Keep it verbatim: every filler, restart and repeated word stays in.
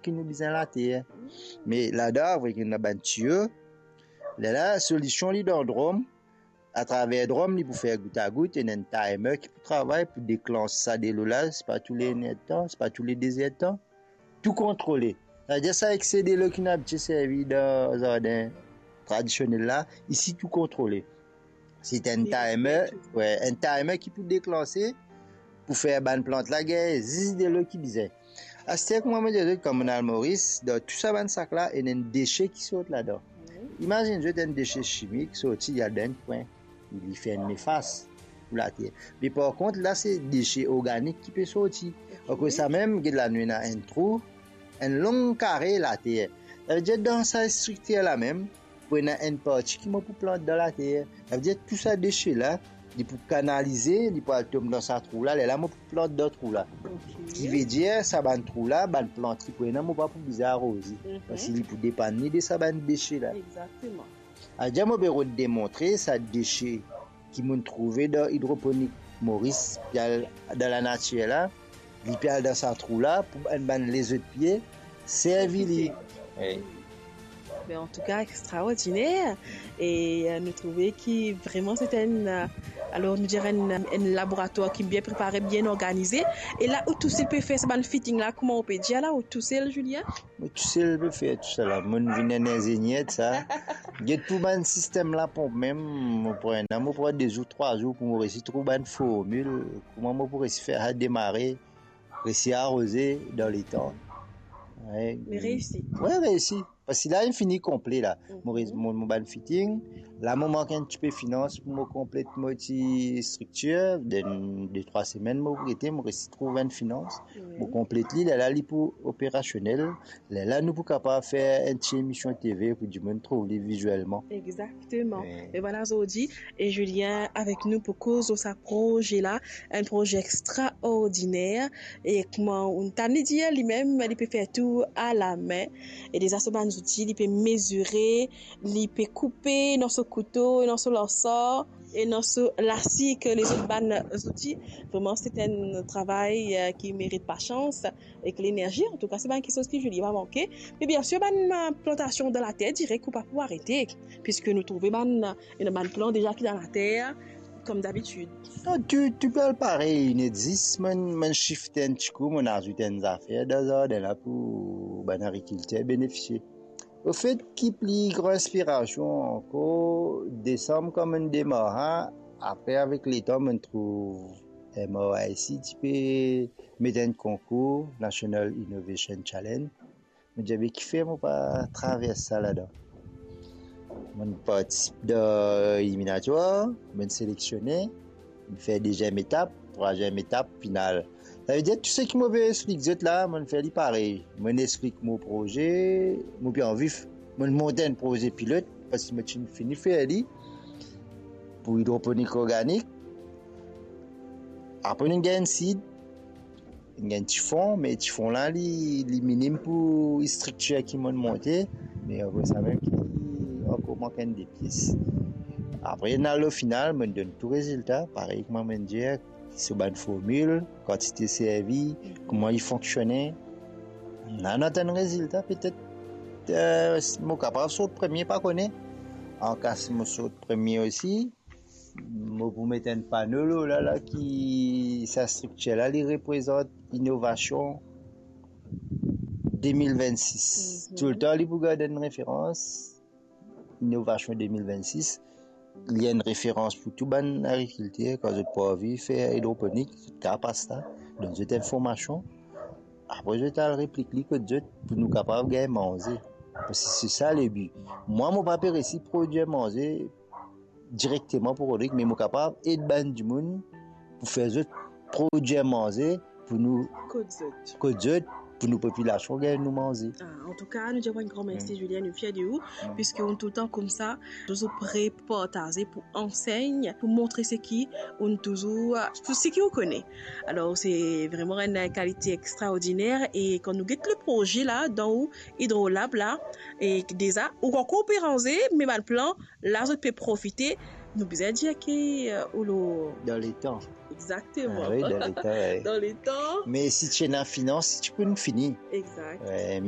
ki nou bizin later. Me ladan, avek ena bann tiyo, lerla solision li dan drom, atraver drom li pou fer gout a gout, ena enn timer ki pou travay pou deklans sa delo la, se pa tou le enn er de tan, se pa tou le de zer de tan. Tou kontrole. Savedir sa ekse delo ki nou abitie servi dan zardin tradisionel la, isi tou kontrole. Se enn timer, we, enn timer ki pou deklanse, pou fer bann plant la gagn zis delo ki bizin. Aster kouma mo dir zot, kan mo'nn al Moris, dan tou sa bann sak la, ena enn dese ki sort ladan. Imazinn zot enn dese simik sorti, li al dan enn kwin, li fer enn nefas pou later. Me par kont, la se dese organik ki pe sorti. Akoz sa mem, get la nou ena enn trou, enn long kare later. Savedir dan sa striktir la mem, pou ena enn parti ki mo pou plant dan later. Savedir tou sa dese la, li pou kanalize, li pou al tom dan sa trou la, lerla mo pou plant dan trou la. Ki vedir sa bann trou la, bann plant ki pou ena, mo pa pou bizin aroze. Parski li pou depann li de sa bann dese la. Savedir mo pe rod demontre sa dese ki mo'nn trouve dan idroponik Moris, ki al dan lanatir la, li pe al dan sa trou la pou bann, bann lezot pie servi li. Wi. Ben, antouka, extraordiner. E euh, nou trouve ki vreman se enn, euh, alor nou dir enn, enn laboratwar ki bien prepare, bien organize. E la ou tousel pe fer sa bann fitting la, kouma ou pe dir la, ou tousel, Julien? Mo tousel pe fer tou sa la. Mo'nn vinn enn inzenier de sa. Get pou bann sistem la ponp mem, mo pran, mo pran de zour, trwa zour pou mo resi trouv bann formil, kouma mo pou resi fer sa demare, resi aroze dan letan. Me reisi. We, reisi. Parski la, li fini konple la. Mo, mo, mo bann fitting. La, mo mank enn tipe finans pou mo konplet mo ti striktir. Dan de, trwa semenn, mo gete, mo resi trouv enn finans. Mo konplet li, lerla li pou operasionel. Lerla nou pou kapav fer enn ti emision TV pou dimoun trouv li vizielman. Exakteman. E vwala zordi, e Julien avek nou pou koz lor sa proze la, enn proze extraordiner. E kouma ou'nn tann li dir, limem li pe fer tou alame. E deza so bann zouti, li pe mezire, li pe koupe dan so kouto, dan so larsar, e dan so lasi ek lezot bann zouti. Vreman, se enn travay euh, ki merit pasans ek lenerzi. Antouka, se bann kiksoz ki Julien pa manke. Me biensir, bann euh, plantasion dan later, direk ou pa pou arete, piski nou trouve bann, euh, ena bann plant deza ki dan later, kom dabitid. Non, tou, tou pe al parey, inn exis, mo'nn, mo'nn sifte enn tikou, mo'nn azout enn zafer dan zardin la pou bann agrikilter benefisie. Anfet, ki pli gran inspirasion ankor, desanm kan mo'nn demar, apre avek letan mo'nn trouv M R I C ti pe met enn konkour, National Innovation Challenge. Mo dir, be kifer mo pa travers sa ladan? Mo'nn partisip dan eliminatwar, mo'nn selektione, mo'nn fer deziem etap, trwaziem etap, final. Savedir tou seki mo pe explik zot la, mo'nn fer li parey. Mo'nn explik mo proze, mo pe anvi f-, mo'nn mont enn proze pilot, parski mo ti fini fer li pou idroponik organik. Apre nou gagn enn seed, gagn ti fon, me ti fon la, li, li minim pou striktir ki mo'nn monte, me apre sa mem ki ankor mank enn de pies. Apre, ena lor final, mo'nn donn tou rezilta, parey kouma mo'nn dir, so bann formil, kantite servi, kouma li fonksione. La, nou atann rezilta, petet, euh, mo kapav sort premie, pa kone. Anka si mo sort premie osi, mo pou met enn pano lor la, la ki sa striktir la, li reprezant inovasion de mil vennsis. Toultan, li pou gard enn referans, inovasion de mil vennsis. Li enn referans pou tou bann agrikilter, kan zot pou anvi fer idroponik, zot kapav pas la, donn zot enn formasion. Apre, zot al replik li kot zot, pou nou kapav gagn manze. Parski se sa lebi. Mwa, mo pa pe resi prodwir manze, direkteman pou Rodrig, me mo kapav ed bann dimoun pou fer zot prodwir manze pou nou kot zot, pou nou popilasion gagn nou manze. Ah, antouka, nou dir enn gran mersi, Julien, nou fier de ou, piski ou toultan koumsa, touzour pre pou partaze, pou ansegn, pou montre seki ou touzour, pou seki ou kone. Alor, se vreman enn kalite extraordiner, e kan nou get le proze la, dan ou Hydrolab la, e deza, ou ankor pe ranze, me bann plan, la zot pe profite, nou bizin dir ki, euh, ou lor... Dan letan. Exakteman. Ah wi, dan letan, wi. Dan letan. Me si ti ena finans, ti pou fini. Exakt. Wi, me